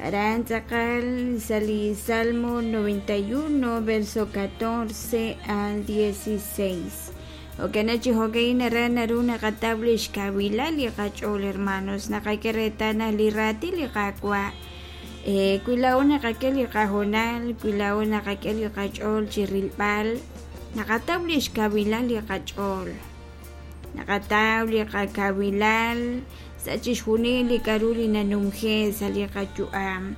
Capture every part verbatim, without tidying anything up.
Aran tz'aqal sa' li Salmo noventa y uno, verso catorce al dieciséis. Jo'kan chi jo'ka'in aran naru naqataw li xkawilal li qach'ool, hermanos. Naqak'e reetal naq li raatin li Qaawa', eh, wi laa'o naqak'e li qahoonal, wi laa'o naqak'e li qach'ool chi rilb'al, naqataw li xkawilal li qach'ool, naqataw li qakawilal sa' chixjunil li k'a'ru li nanumje sa' li qayu'am.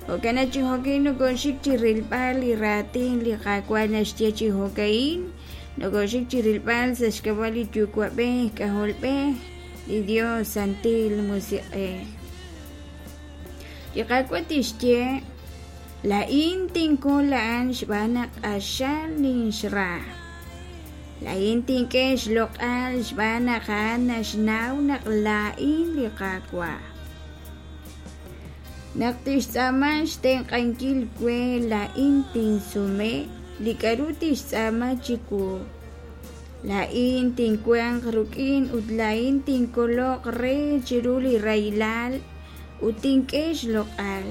Jo'kan chi jo'ka'in nokoxik chi rilb'al li raatin li Qaawa' naxye chi jo'ka'in, nokoxik chi rilb'al sa' xk'ab'a' li Yuwa'b'ej, K'ajolb'ej, li Dios Santil Musiq'ej. Li Qaawa' tixye, laa'in tinkol a'an xb'aan naq q'axal ninxra. Laa'in tink'e xloq'al xb'aan naq a'an naxnaw naq laa'in li Qaawa'. Naq tixtz'aama xtenq'ankil we, laa'in tinsume li k'a'ru tixtz'aama chiwu. Laa'in tinwanq rik'in ut laa'in tinkoloq re chiru li rahilal ut tink'e xloq'al.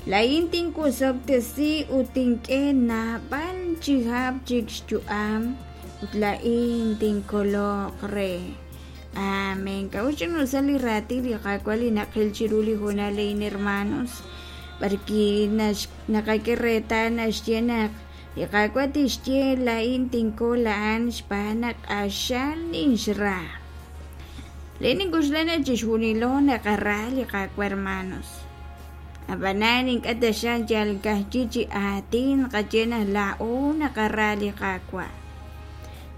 Laa'in tinwosob'tesi ut tink'e naab'al chihab' chik xyu'am ut laa'in tinkoloq re. Amén. K'a'ut sa' li raatin li Qaawa' li naqil chiru li hoonal a'in, hermanos, b'arwi' naqak'e reetal naxye naq li Qaawa' tixye laa'in tinkol a'an xb'aan naq q'axal ninxra. Laa'in nink'oxla naq chixjunilo naqara li Qaawa', hermanos. Ab'anan ink'a' taxaq yal ka'ajwi' chi aatin qaye naq laa'o naqara li Qaawa'.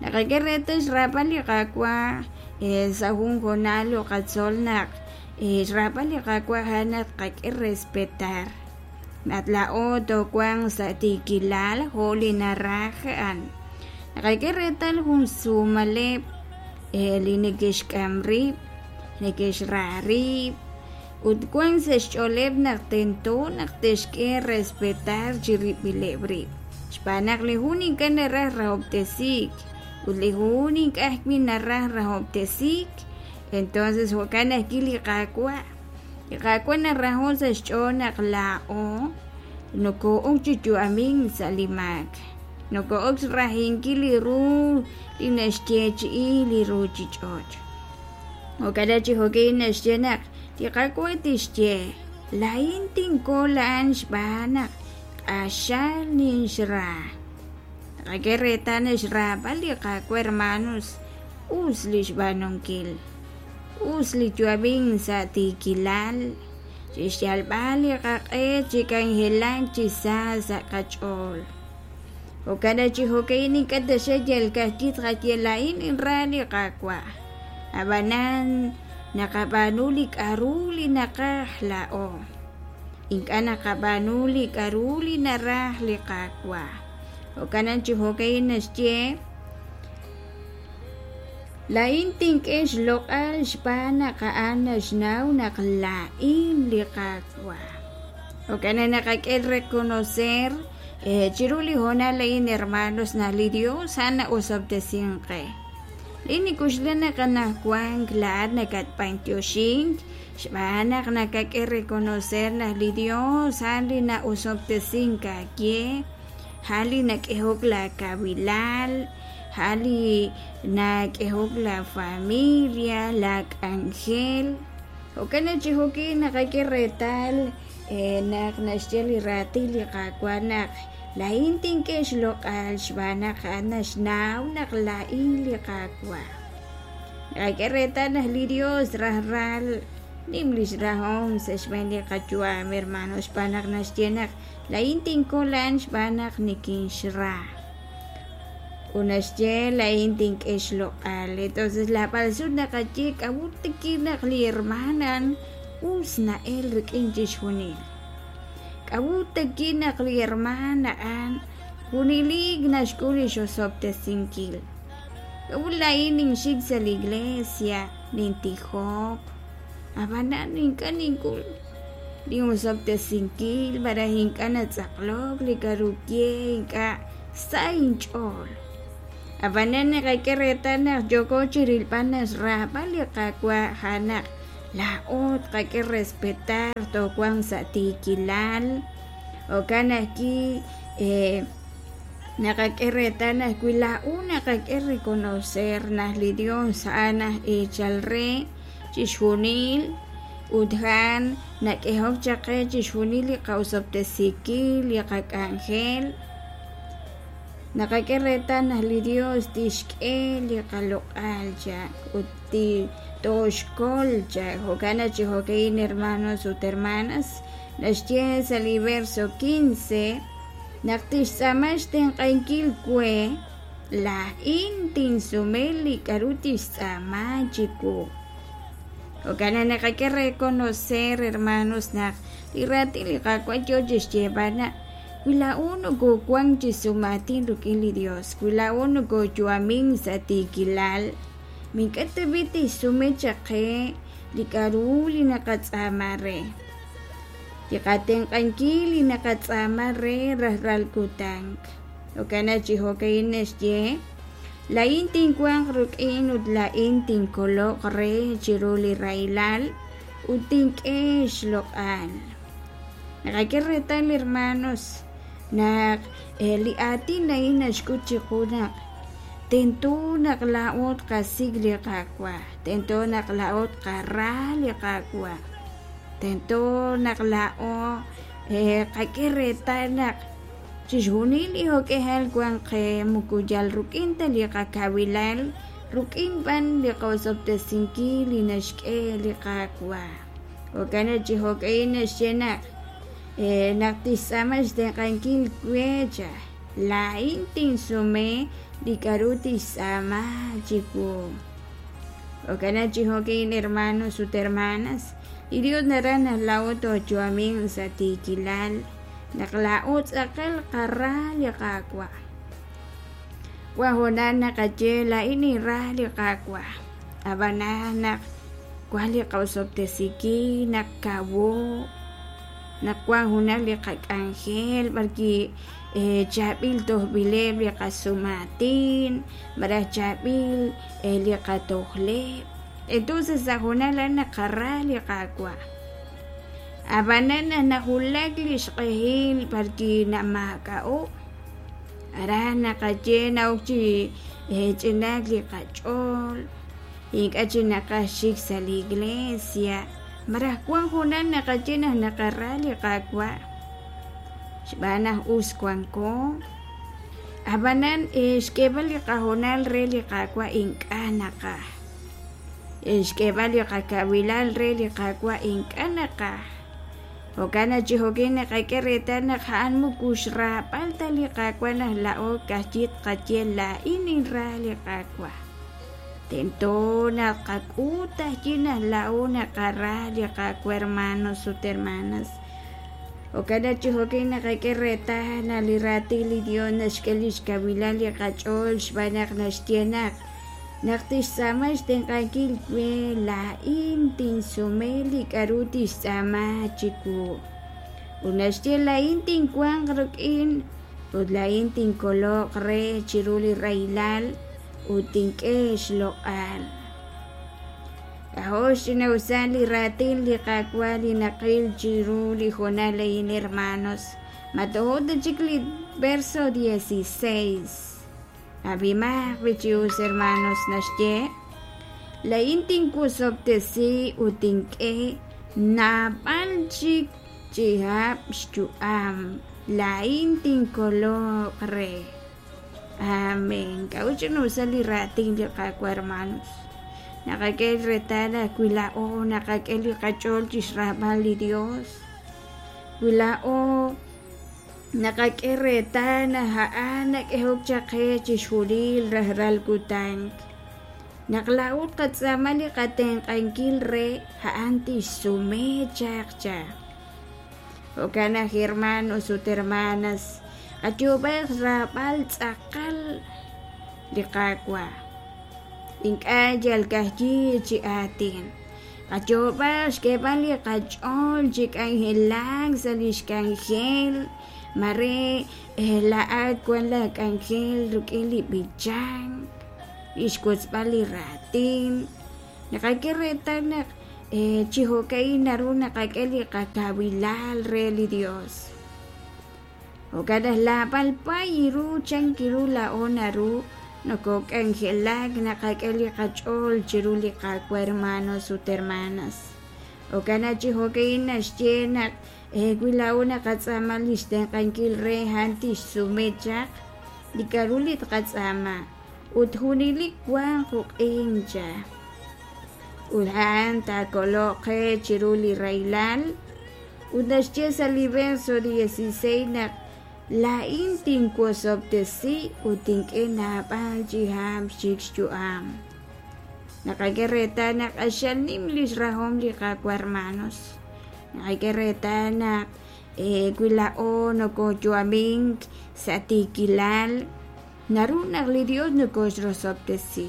Naqak'e reetal xraab'al li Qaawa', eh, sa' jun hoonal qatzol naq, eh, xraab'al li Qaawa' a'an naq qak'e respetar. Naq laa'o toowanq sa' tiikilal jo' li naraj a'an. Naqak'e reetal jun sumaleb', eh, li neke'xk'am rib', neke'xra rib', ut wan sa' xch'ooleb' naq tento naq te'xk'e respetar chirib'ileb' rib'. Xb'aan naq li jun ink'a' naraj rahob'tesiik, ut li jun ink'a' ajwi' naraj rahob'tesiik. Entonces jo'kan ajwi' li Qaawa'. Li Qaawa' naraho' sa' xch'ool naq laa'o noko'ok chi yu'amink sa' li maak. Noko'ok xrahinkil li ru li naxyeechi'i li ruchich'och'. Jo'kan chi jo'kin naxye naq li Qaawa' tixye, laa'in tinkol a'an xb'aan naq q'axal ninxra. Naqak'e reetal naq xraab'al li Qaawa', hermanos, us li xb'aanunkil, us li yu'amink sa' tiikilal, chixyalb'al li qaq'e chi k'anjelak chi sa sa' qach'ool. Jo'kan chi jo'ka'in ink'a' taxaq yal ka'ajwi' tqaye laa'in ninra li Qaawa'. Ab'anan naqab'aanu li k'a'ru li naqaj laa'o. Ink'a' naqab'aanu li k'a'ru li naraj li Qaawa'. Jo'kan chi jo'ka'in naxye, laa'in tink'e xloq'al xb'aan naq a'an naxnaw naq laa'in li Qaawa'. Jo'kan naqak'e reconocer, eh, chiru li hoonal a'in, hermanos, naq li Dios a'an na'osob'tesinq qe. Li nikuxla naq anajwank laa'at nakatb'antioxink xb'aan naq nakak'e reconocer naq li Dios a'an li na'osob'tesink aawe, a'an li nak'ehok la kawilal, a'an li nak'ehok la familia, la k'anjel. Jo'kan chi jo'kin naqak'e reetal, eh, naq naxye li raatin li Qaawa' naq laa'in tink'e xloq'al xb'aan naq a'an naxnaw naq laa'in li Qaawa'. Naqak'e reetal naq li Dios rajlal nim lix rahom sa' xb'een li qayu'am, hermano, xb'aan naq naxye naq laa'in tinkol a'an xb'aan naq nikinxra. Ut naxye laa'in tink'e xloq'al. Entonces la b'alsut naqaye k'a'ut tiki naq li hermana us na'el rik'in chixjunil. K'a'ut tiki naq li hermana a'an junilik naxk'ul li xosob'tesinkil. K'a'ut laa'in ninxik sa' la iglesia, nintijok, ab'anan ink'a' nink'ul li osob'tesinkil, malaj ink'a' natz'aqlok li k'a'ru ye, ink'a' sa' inch'ool. Ab'anan naqak'e reetal naq yoko chi rilb'al naq xraab'al li Qaawa' a'an naq Laa'o tqak'e respetar toowanq sa' tiikilal jo'kan ajwi' naqak'e reetal naq wi laa'o naqak'e reconocer naq li Dios a'an aj eechal re chixjunil ut a'an nak'ehok chaq qe chixjunil li qa'osob'tesinkil li qak'anjel naqak'e reetal naq li Dios tixk'e li qaloq'al cha ut tooxkol cha jo'kan naq chi jo'ka'in hermanos ut hermanas naxye sa' li verso quince naq tixtz'aama xtenq'ankil we laa'in tinsume li k'a'ru tixtz'aama chiwu. Jo'kan naq naqak'e reconocer hermanos naq li raatin li Qaawa' yoo chixyeeb'al naq wi laa'o nokowank chi sumaatin rik'in li Dios, wi laa'o nokoyu'amin sa' tiikilal, mink'a' tab'i' tixsume chaq qe li k'a'ru li naqatz'aama re, li qatenq'ankil li naqatz'aama re rajlal kutan. Jo'kan naq chi jo'ka'in naxye laa'in tinwanq rik'in ut laa'in tinkoloq re chiru li rahilal ut tink'e xloq'al. Naqak'e reetal hermanos naq li aatin a'in naxk'ut chiqu naq tento naq laa'o tqasik' li Qaawa', tento naq laa'o tqara li Qaawa', tento naq laa'o qak'e reetal naq chixjunil li jo'k'ejal wan qe moko yal rik'in ta li qakawilal, rik'in b'an li qa'osob'tesinkil li naxk'e li Qaawa'. Jo'kan naq chi jo'ka'in naxye naq naq tixtz'aama xtenq'ankil we cha laa'in tinsume li k'a'ru tixtz'aama chiwu. Jo'kan naq chi jo'ka'in hermanos ut hermanas li Dios naraj naq laa'o tooyu'amin sa' tiikilal naq laa'o tz'aqal qara li Qaawa'. Wan hoonal naqaye laa'in ninra li Qaawa', ab'anan naq wan li qa'osob'tesinkil, naq kawo, naq wan junaq li qak'anjel b'arwi' chaab'il tojb'ileb' li qasumaatin malaj chaab'il li qatojleb'. Entonces sa' hoonal a'an naqara li Qaawa'. Ab'anan naq nawulak li xq'ehil b'arwi' namaak'a'o', aran naqaye na'ok chi ch'inaak li qach'ool, ink'a' chik naqaj xik sa' li iglesia, malaj wan hoonal naqaye naq naqara li Qaawa' xb'aan naq us wanko. Ab'anan xk'eeb'al li qahoonal re li Qaawa' ink'a' naqaj, xk'eeb'al li qakawilal re li Qaawa' ink'a' naqaj. Jo'kan naq chi jo'kin naqak'e reetal naq a'an moko xraab'al ta li Qaawa' naq laa'o ka'ajwi' tqaye laa'in ninra li Qaawa'. Tento naq qak'ut ajwi' naq laa'o naqara li Qaawa' hermanos ut hermanas. Jo'kan naq chi jo'kin naqak'e reetal naq li raatin li Dios naxk'e li xkawilal li qach'ool xb'aan naq naxye naq naq tixtz'aama xtenq'ankil we laa'in tinsume li k'a'ru tixtz'aama chiwu. Ut naxye laa'in tinwanq rik'in ut laa'in tinkoloq re chiru li rahilal ut tink'e xloq'al. K'ajo' xch'ina'usal li raatin li Qaawa' li naqil chiru li hoonal a'in hermanos. Ma tojo ta chik li verso dieciséis. Ab'imaq chi us hermanos naxye laa'in tinwosob'tesi ut tink'e naab'al chik chihab' xyu'am, laa'in tinkoloq re. Amén. K'a'ut ch'ina'usal li raatin li Qaawa' hermanos. Naqak'e reetal wi laa'o naqak'e li qach'ool chixraab'al li Dios, wi laa'o naqak'e reetal naq a'an nak'ehok chaq qe chixjunil rajlal kutan, naq laa'o tqatz'aama li qatenq'ankil re a'an tixsume chaq cha. Jo'kan naq hermanos ut hermanas qayoob'aq xraab'al tz'aqal li Qaawa', ink'a' yal ka'ajwi' chi aatin. Qayoob'aq xk'eeb'al li qach'ool chi k'anjelak sa' li xk'anjel, mare laa'at wan la k'anjel rik'in li b'ichank, li xwotzb'al li raatin. Naqak'e reetal naq chi jo'ka'in naru naqak'e li qakawilal re li Dios. Jo'kan naq laab'al pay ru chan ru laa'o naru nokok'anjelak naqak'e li qach'ool chiru li Qaawa' hermanos ut hermanas. Jo'kan naq chi jo'ka'in naxye naq wi laa'o naqatz'aama li xtenq'ankil re a'an tixsume chaq li k'a'ru li tqatz'aama ut junelik wanq uq'in cha. Ut a'an taakoloq qe chiru li rahilal. Ut naxye sa' li verso dieciséis naq laa'in tinwosob'tesi ut tink'e naab'al chi hab' chik xyu'am. Naqak'e reetal naq q'axal nim lix rahom li Qaawa' hermanos. Naqak'e reetal naq wi laa'o nokoyu'amink sa' tiikilal naru naq li Dios nokoxrosob'tesi.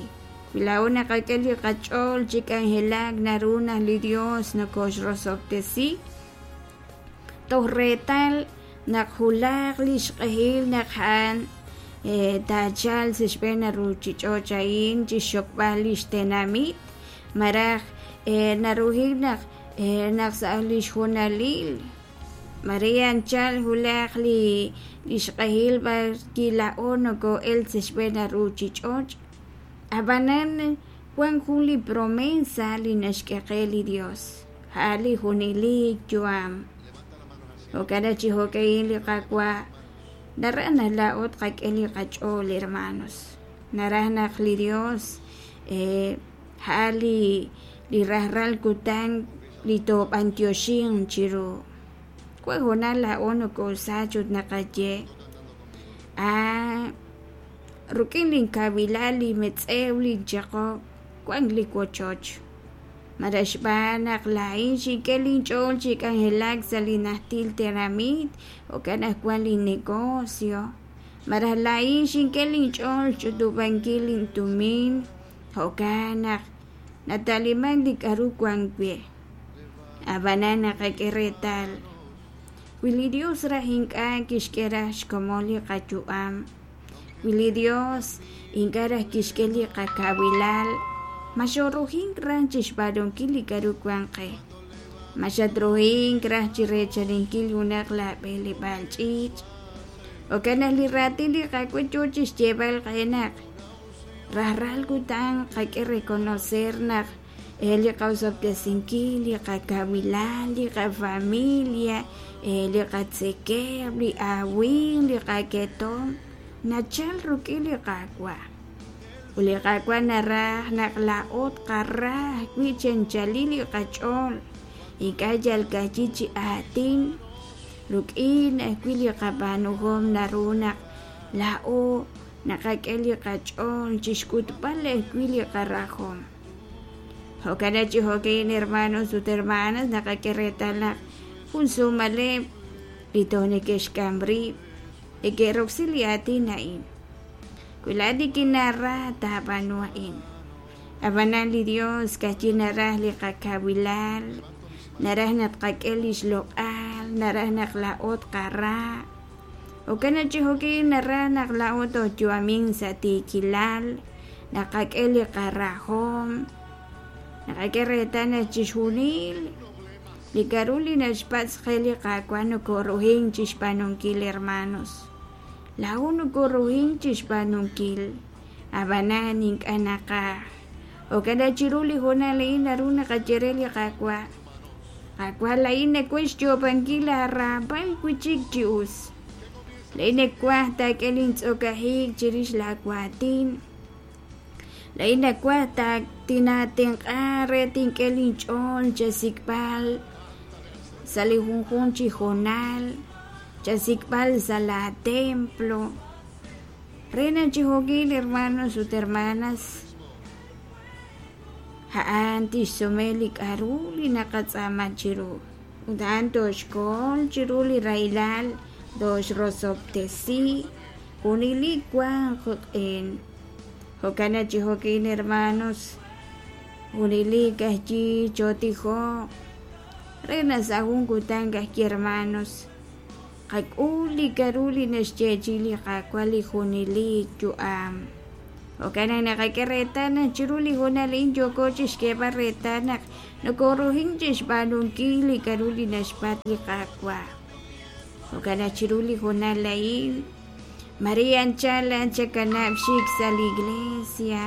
Wi laa'o naqak'e li qach'ool chi k'anjelak naru naq li Dios nokoxrosob'tesi. Toj reetal naq julaq li xq'ehil naq a'an taachal sa' xb'een ruchich'och' a'in chi xxokb'al li xtenamit maraj naruhil naq naq sa' li xjunalil mare anchal julaq li li xq'ehil b'ar kila'o noko'el sa' xb'een ruchich'och'. Ab'anan wan jun li promesa li naxk'e qe li Dios a'an li junelik yu'am. Jo'kan naq chi jo'ka'in li Qaawa' naraj naq laa'o tqak'e li qach'ool hermanos. Naraj naq li Dios a'an li li rajlal kutan li toob'antioxin chiru. Wan hoonal laa'o nokosach ut naqaye ah rik'in linkawilal li metz'ew linchaq'ob' wan li wochoch. Maraj xb'aan naq laa'in xink'e linch'ool chi k'anjelak sa' li najtil tenamit jo'kan naq wan linnegocio. Maraj laa'in xink'e linch'ool xch'utub'ankil lintumin jo'kan naq nataliman li k'a'ru wan we. Ab'anan naqak'e reetal wi li Dios raj ink'a' kixk'e raj xkomon li qayu'am, wi li Dios ink'a' raj kixk'e li qakawilal, ma xoruhink raj chi xb'aanunkil li k'a'ru wan qe, ma xatruhink raj chi reechaninkil junaq laab'eleb'aal ch'iich'. Jo'kan naq li raatin li Qaawa' yoo chi xyeeb'al qe naq rajlal kutan qak'e reconocer naq li qaosob'tesinkil, li qakawilal, li qafamilia, li qatzekeb', li awin, li qaketom nachal rik'in li Qaawa'. Ut li Qaawa' naraj naq laa'o tqara ajwi' chi anchalil li qach'ool, ink'a' yal ka'ajwi' chi aatin, rik'in ajwi' li qab'aanuhom naru naq laa'o naqak'e li qach'ool chi xk'utb'al ajwi' li qarahom. Jo'kan naq chi jo'ka'in hermanos ut hermanas naqak'e reetal naq jun sumaleb' li toj neke'xk'am rib' neke'roksi li aatin a'in. Wi laa'at nikinara taab'aanu a'in. Ab'anan li Dios ka'ajwi' naraj li qakawilal, naraj naq tqak'e li xloq'al, naraj naq laa'o tqara. Jo'kan naq chi jo'ka'in naraj naq laa'o tooyu'amin sa' tiikilal, naqak'e li qarahom, naqak'e reetal naq chixjunil li k'a'ru li naxpatz' qe li Qaawa' nokoruhin chi xb'aanunkil hermanos. Laa'o nokoruhin chi xb'aanunkil, ab'anan ink'a' naqaj. Jo'kan naq chiru li hoonal a'in naru naqaye re li Qaawa', Qaawa' laa'in nawaj xyoob'ankil aaraab'al wi'chik chi us. Laa'in nawaj taak'e lintz'okajik chirix laawaatin. Laa'in nawaj tinaatenq'a re tink'e linch'ool chasik'b'al sa' li junjunq chi hoonal, chasik'b'al sa' la templo. Re naq chi jo'ka'in hermanos ut hermanas a'an tixsume li k'a'ru li naqatz'aama chiru. Ut a'an toxkol chiru li rahilal, toxrosob'tesi, junelik wanq qik'in. Jo'kan naq chi jo'ka'in hermanos junelik ajwi' chootijoq re naq sa' jun kutan ajwi' hermanos qak'ul li k'a'ru li naxyeechi'i li Qaawa' li junelik yu'am. Jo'kan naq naqak'e reetal naq chiru li hoonal a'in yooko chixk'eeb'al reetal naq nokoruhin chixb'aanunkil li k'a'ru li naxpatz' li Qaawa'. Jo'kan naq chiru li hoonal a'in, mare anchal chakanab' xik sa' li iglesia,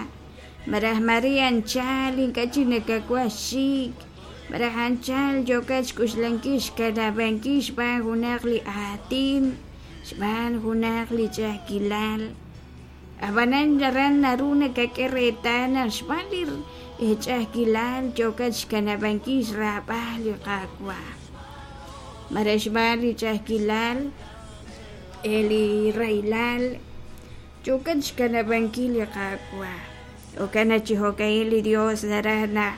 malaj mare anchal ink'a' chik nakawaj xik, malaj anchal yookat xk'uxlankil xkanab'ankil xb'aan junaq li aatin, xb'aan junaq li ch'a'ajkilal. Ab'anan aran naru nakak'e reetal naq xb'aan li ch'a'ajkilal yookat xkanab'ankil xraab'al li Qaawa'. Malaj xb'aan li ch'a'ajkilal, li rahilal yookat xkanab'ankil li Qaawa'. Jo'kan naq chi jo'ka'in li Dios naraj naq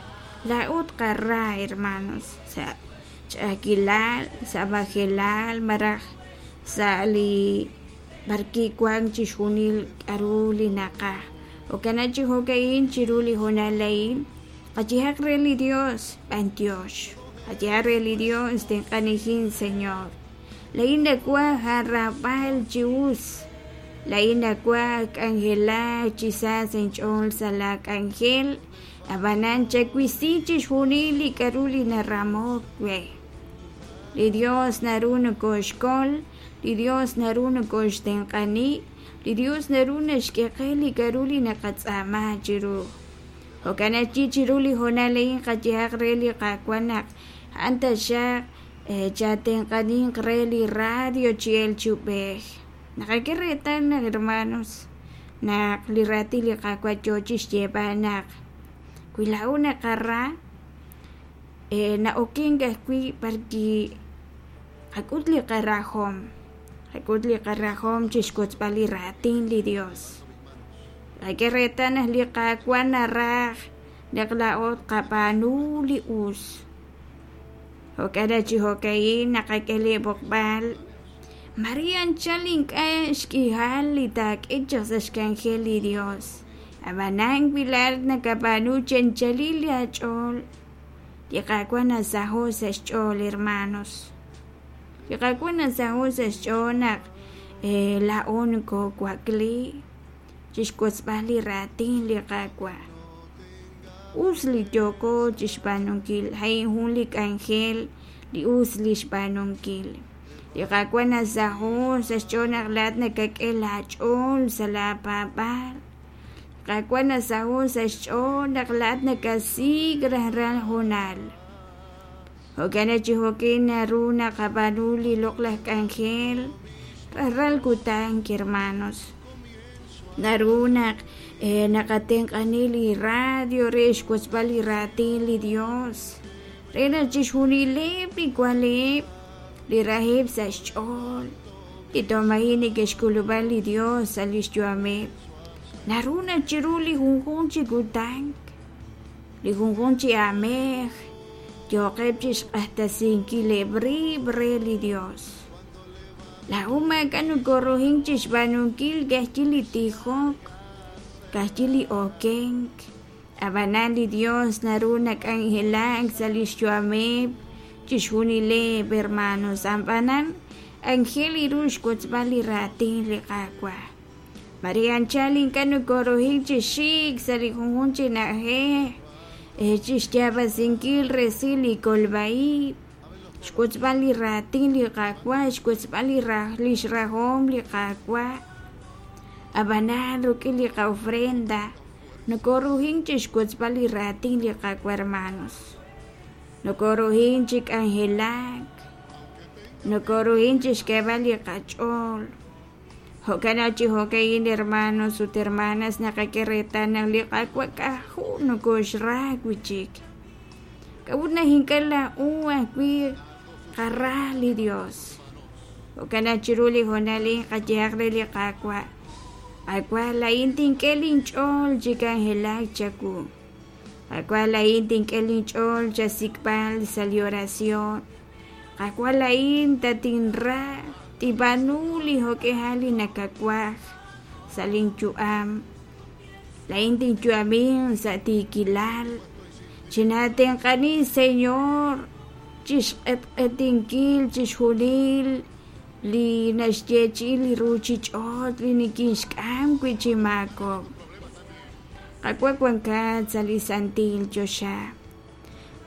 laa'o tqara, hermanos, sa' ch'a'ajkilal, sa' majelal, malaj sa' li b'arwi' wank chixjunil k'a'ru li naqaj. Jo'kan naq chi jo'ka'in chiru li hoonal a'in qayehaq re li Dios b'antiox, qayehaq re li Dios tenq'anijin Señor. Laa'in nawaj aaraab'al chi us, laa'in nawaj k'anjelak chi sa sa' inch'ool sa' la k'anjel, ab'anan chawisi chixjunil li k'a'ru li naramok we. Li Dios naru nokoxkol, li Dios naru nokoxtenq'ani, li Dios naru naxk'e qe li k'a'ru li naqatz'aama chiru. Jo'kan naq chi chiru li hoonal a'in qayehaq re li Qaawa' naq a'an taxaq chatenq'aninq re li radio chi el chi ub'ej. Naqak'e reetal naq, hermanos, naq li raatin li Qaawa' yoo chixyeeb'al naq wi laa'o naqara na'okenk ajwi' b'arwi' qak'ut li qarajom, qak'ut li qarajom chixwotzb'al li raatin li Dios. Naqak'e reetal naq li Qaawa' naraj naq laa'o tqab'aanu li us. Jo'kan naq chi jo'ka'in naqak'e li b'oqb'al mare anchal ink'a' xk'ihal li taak'e chaq sa' xk'anjel li Dios. Ab'anan wi laa'at nakab'aanu chi anchalil aach'ool, li Qaawa' nasaho' sa' xch'ool, hermanos. Li Qaawa' nasaho' sa' xch'ool naq laa'o nokowakli chixwotzb'al li raatin li Qaawa'. Us li yooko chixb'aanunkil, a'in jun li k'anjel li us li xb'aanunkil. Li Qaawa' nasaho' sa' xch'ool naq laa'at nakak'e laach'ool sa' laapaab'aal. Li Qaawa' nasaho' sa' xch'ool naq laa'at nakasik' rajlal hoonal. Jo'kan naq chi jo'kin naru naqab'aanu li loq'laj k'anjel rajlal kutan, hermanos. Naru naq naqatenq'ani li radio re xwotzb'al li raatin li Dios, re naq chixjunileb' li wanleb' li raheb' sa' xch'ool, li tomaji neke'xk'ulub'a li Dios sa' lix yu'ameb'. Naru naq chiru li junjunq chi kutan, li junjunq chi aamej yooqeb' chixq'axtesinkileb' rib' re li Dios. Laa'o maak'a' nokoruhin chixb'aanunkil ka'ajwi' li tijok, ka'ajwi' li okenk. Ab'anan li Dios naru nak'anjelak sa' lix yu'ameb' chixjunileb', hermanos. Ab'anan anjel ru xwotzb'al li raatin li Qaawa'. Mare anchal ink'a' nokoruhin chi xik sa' li junjunq chi na'ajej chixyaab'asinkil resil li kolb'a-ib', xwotzb'al li raatin li Qaawa', xwotzb'al li lix rajom li Qaawa'. Ab'anan rik'in li qa'ofrenda nokoruhin chixwotzb'al li raatin li Qaawa', hermanos. Nokoruhin chi k'anjelak, nokoruhin chixk'eeb'al li qach'ool. Jo'kan naq chi jo'ka'in, hermanos ut hermanas, naqak'e reetal naq li Qaawa' k'ajo' nokoxra wi'chik. K'a'ut naq ink'a' laa'o ajwi' qara li Dios. Jo'kan naq chiru li hoonal a'in qayehaq re li Qaawa', Qaawa' laa'in tink'e linch'ool chi k'anjelak chawu. Qaawa' laa'in tink'e linch'ool chasik'b'al sa' li oración. Qaawa' laa'in tatinra, tib'aanu li jo'k'ihal li nakawaj sa' linyu'am. Laa'in tinyu'amin sa' tiikilal. Chinatenq'ani, Señor, chixq'etq'etinkil chixjunil li naxyeechi'i li ruuchich'och' li nikinxk'am wi' chi maakob'. Qawa' wankat sa' li santil choxa.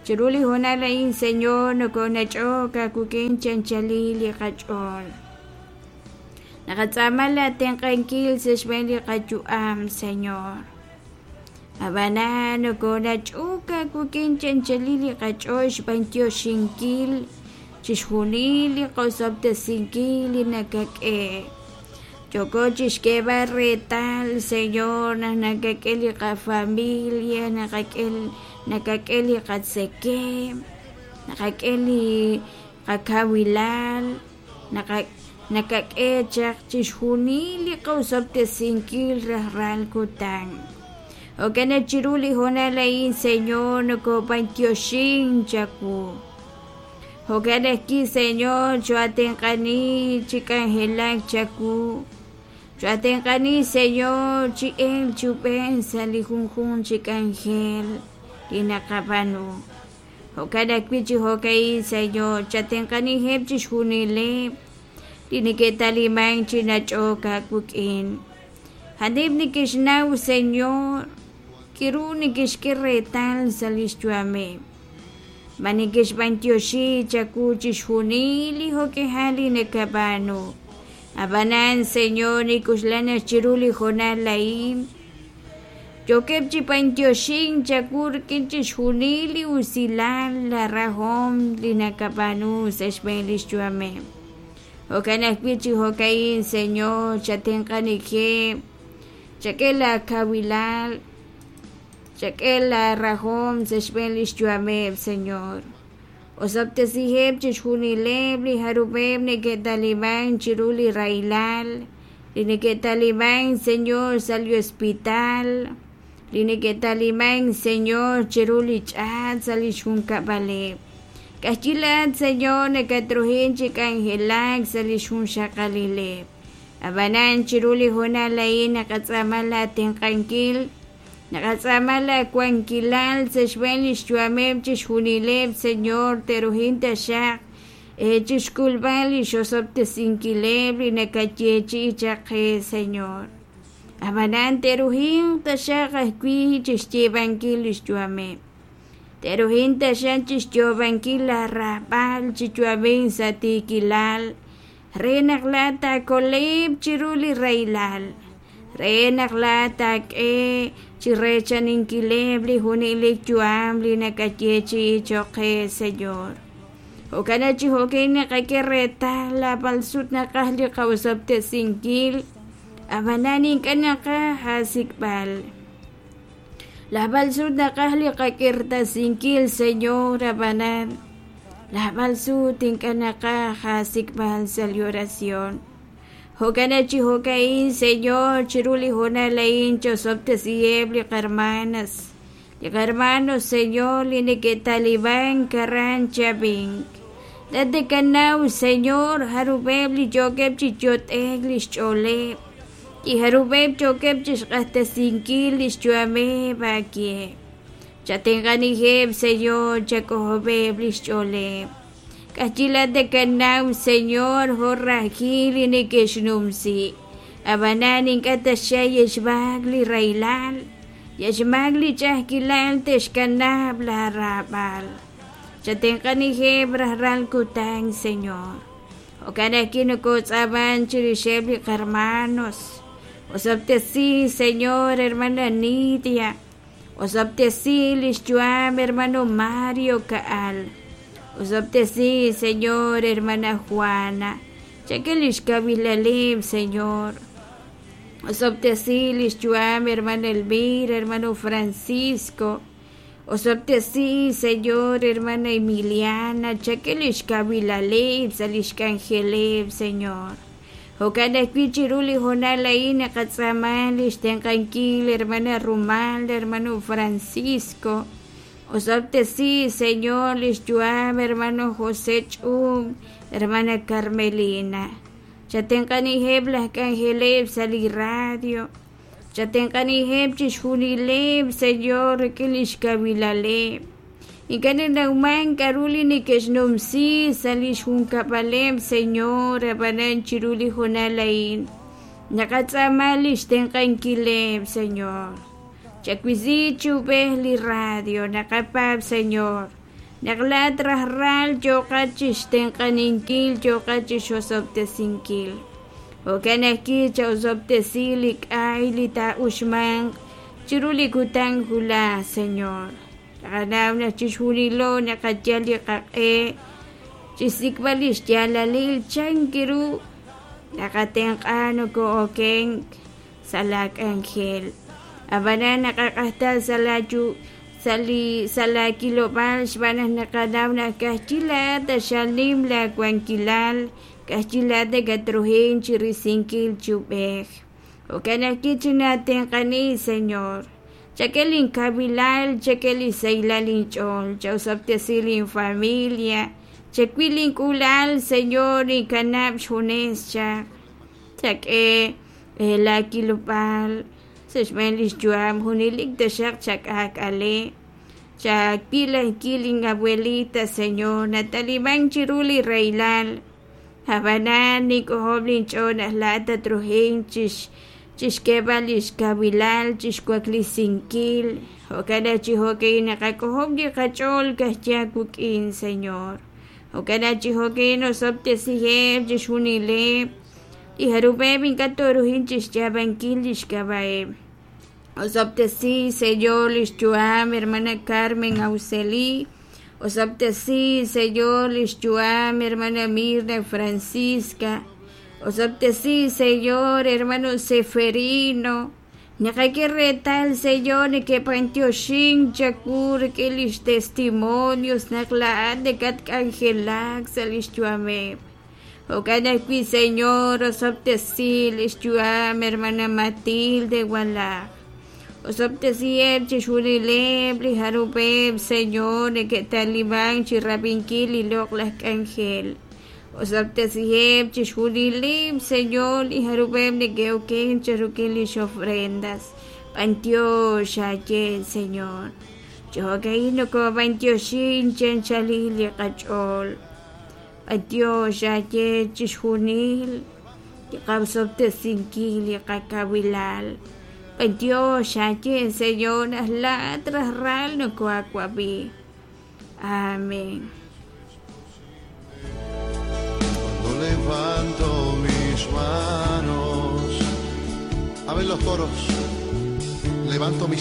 Chiru li hoonal a'in, Señor, nokonach'ok aawik'in chi anchalil li qach'ool. Naqatz'aama laatenq'ankil sa' xb'een li qayu'am, Señor. Ab'anan nokonach'ok aawik'in chi anchalil li qach'ool xb'antioxinkil chixjunil li qosob'tesinkil li nakak'e. Yooko chixk'eeb'al reetal, Señor, naq nakak'e li qafamilia, naqak'e nakak'e li qatzekemq, naqak'e li qakawilal, nakak'e chaq chixjunil li qosob'tesinkil rajlal kutan. Jo'kan naq chiru li hoonal a'in, Señor, nokob'antioxin chawu. Jo'kan ajwi', Señor, choatenq'ani chi k'anjelak chawu. Choatenq'ani, Señor, chi elk chi ub'ej sa' li junjunq chi k'anjel li naqab'aanu. Jo'kan ajwi' chi jo'ka'in, Señor, chatenq'aniheb' chixjunileb' li neke'talimank chi nach'ok aawik'in. A'aneb' neke'xnaw, Señor, k'aru neke'xk'e reetal sa' li xyu'ameb'. Ma neke'xb'antioxi chawu chixjunil li jo'k'ihal li nakab'aanu. Ab'anan, Señor, nik'uxlan naq chiru li hoonal a'in yookeb' chi b'antioxink chawu rik'in chixjunil li usilal, la rajom li nakab'aanu sa' xb'een li xyu'ameb'. Jo'kan ajwi' chi jo'ka'in, Señor, chatenq'anijeb', chak'e laakawilal, chak'e laarahom sa' xb'een li xyu'ameb', Señor. Osob'tesiheb' chixjunileb' li jarub'eb' neke'talimank chiru li rahilal, li neke'talimank, Señor, sa' li hospital, li neke'talimank, Señor, chiru li ch'aat sa' li xjunkab'aleb'. K'ajyi laat, Señor, nakatruhin chi k'anjelak sa' li xjunxaqalileb'. Ab'anan chiru li hoonal a'in naqatz'aama laatenq'ankil, naqatz'aama laawankilal sa' xb'een li xyu'ameb' chixjunileb', Señor, te'ruhin taxaq chixk'ulb'al li xosob'tesinkileb' li nakayeechi'i chaq qe, Señor. Ab'anan te'ruhinq taxaq ajwi' chixyiib'ankil li xyu'ameb'. Te'ruhin taxaq chixyoob'ankil laarahb'al chi yu'amink sa' tiikilal, re naq laat taakoleb' chiru li rahilal, re naq laat taak'e chi reechaninkileb' li junelik yu'am li nakayeechi'i cho'q qe, Señor. Jo'kan naq chi jo'kan naqak'e reetal naab'al sut naqaj li qaosob'tesinkil, ab'anan ink'a' naqaj aasik'b'al. Naab'al sut naqaj li qak'irtasinkil, Señor, ab'anan naab'al sut ink'a' naqaj aasik'b'al sa' li oración. Jo'kan naq chi jo'ka'in, Señor, chiru li hoonal a'in chosob'tesiheb' li qarmanas, li qarmanos, Señor, li neke'talimank aran Chavink. Laat nakanaw, Señor, jarub'eb' li yookeb' chi yot'ek li xch'ooleb', li jarub'eb' yookeb' chi xq'axtesinkil li xyu'ameb' aawe. Chatenq'aniheb', Señor, chak'ojob'eb' li xch'ooleb'. K'ajyi laat nakanaw, Señor, jo' rajil li neke'xnumsi. Ab'anan ink'a' taxaq xmaak li rahilal, xmaak li ch'a'ajkilal te'xkanab' laaraab'al. Chatenq'aniheb' rajlal kutan, Señor. Jo'kan ajwi' nokotz'aaman chirixeb' li qarmanos. Osob'tesi, Señor, hermana Nidia. Osob'tesi li xyu'am, hermano Mario Ka'al. Osob'tesi, Señor, hermana Juana. Chak'e li xkawilaleb', Señor. Osob'tesi li xyu'am, hermana Elvira, hermano Francisco. Osob'tesi, Señor, hermana Emiliana. Chak'e li xkawilaleb' sa' li xk'anjeleb', Señor. Jo'kan ajwi' chiru li hoonal a'in naqatz'aama li xtenq'ankil, hermana Rumal, hermano Francisco. Osob'tesi, Señor, li xyu'am, hermano José Ch'um, hermana Carmelina. Chatenq'aniheb' laj k'anjeleb' sa' li radio. Chatenq'aniheb' chixjunileb', Señor, rik'in li xkawilaleb'. Ink'a' nanawman k'aru li neke'xnumsi sa' li xjunkab'aleb', Señor, ab'anan chiru li hoonal a'in naqatz'aama li xtenq'ankileb', Señor. Chawisi chi ub'ej li radio, naqapaab', Señor, naq laa'at rajlal yooqat chixtenq'aninkil, yooqat chixosob'tesinkil. Jo'kan ajwi' cha'osob'tesi li k'ay li taa'uxmanq chiru li kutan wulaj, Señor. Naqanaw naq chixjunilo naqayal li qaq'e chixsik'b'al li xyaalalil chan ru naqatenq'a noko'okenk sa' la k'anjel. Ab'anan naqaq'ajta sa' la yu sa' li sa' la kilob'aal xb'aan naq naqanaw naq ka'ajwi' laa'at taxal nim la wankilal, ka'ajwi' laa'at nakatruhin chirisinkil chi ub'ej. Jo'kan ajwi' chinaatenq'ani, Señor. Chak'e linkawilal, chak'e li sahilal inch'ool, cha'osob'tesi linfamilia, chawil link'uula'al, Señor, ninkanab' xjunes chaq. Chak'e la kilob'aal sa' xb'een li xyu'am junelik taxaq chak'aak'ale. Chawil ajwi' lin abuelita, Señor, natalimank chiru li rahilal. Ab'anan nink'ojob' linch'ool naq laa'at tatruhin chix chixk'eeb'al li xkawilal, chixwaklisinkil. Jo'kan naq chi jo'ka'in naqak'ojob' li qach'ool ka'ajwi' aawik'in, Señor. Jo'kan naq chi jo'ka'in osob'tesiheb' chixjunileb' li jarub'eb' ink'a' tooruhin chixyaab'ankil li xk'ab'a'eb'. Osob'tesi, Señor, li xyu'am hermana Carmen Auxeli. Osob'tesi, Señor, li xyu'am hermana Mirna Francisca. Osob'tesi, Señor, hermano Seferino. Naqak'e reetal, Señor, neke'b'antioxink chawu rik'in lix testimonios naq laa'at nakatk'anjelak sa' lix yu'ameb'. Jo'kan ajwi', Señor, osob'tesi li xyu'am hermana Matilde Walaj. Osob'tesiheb' chixjunileb' li jarub'eb', Señor, neke'talimank chirab'inkil li loq'laj k'anjel. Osob'tesiheb' chixjunileb', Señor, li jarub'eb' neke'oken chiruk'in lix ofrendas. B'antiox aaye, Señor. Chi jo'ka'in nokob'antioxin chi anchalil li qach'ool. B'antiox aaye chixjunil li qaosob'tesinkil li qakawilal. B'antiox aaye, Señor, naq laa'at rajlal nokoaawab'i. Amén. Cuando levanto mis manos, a ver los coros, levanto mis